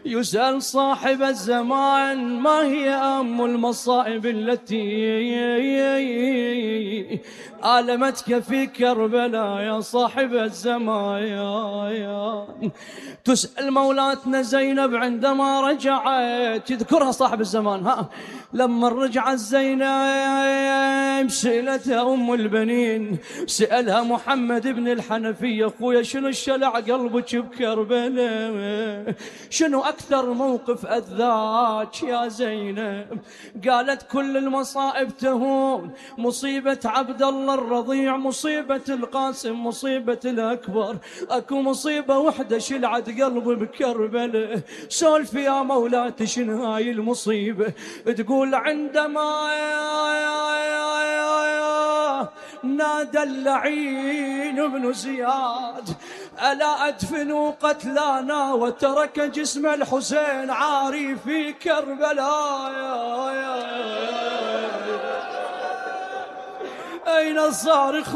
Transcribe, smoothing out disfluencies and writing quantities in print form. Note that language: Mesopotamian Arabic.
يسأل صاحب الزمان ما هي أم المصائب التي آلمتك في كربلاء يا صاحب الزمان. تسأل مولاتنا زينب عندما رجعت، يذكرها صاحب الزمان، لما رجعت زينب سألتها أم البنين، سألها محمد بن الحنفية أخويا شنو الشلع قلبك بكربلاء؟ شنو أكثر موقف أذاك يا زينب؟ قالت كل المصائب تهون، مصيبة عبد الله الرضيع، مصيبة القاسم، مصيبة الأكبر، أكو مصيبة وحدة شلعت قلبي بكربلاء. سولف يا مولاتي شنو هاي المصيبة؟ تقول عندما نادى اللعين بن زياد ألا أدفنوا قتلانا وترك جسم الحسين عاري في كربلاء. أين الصارخ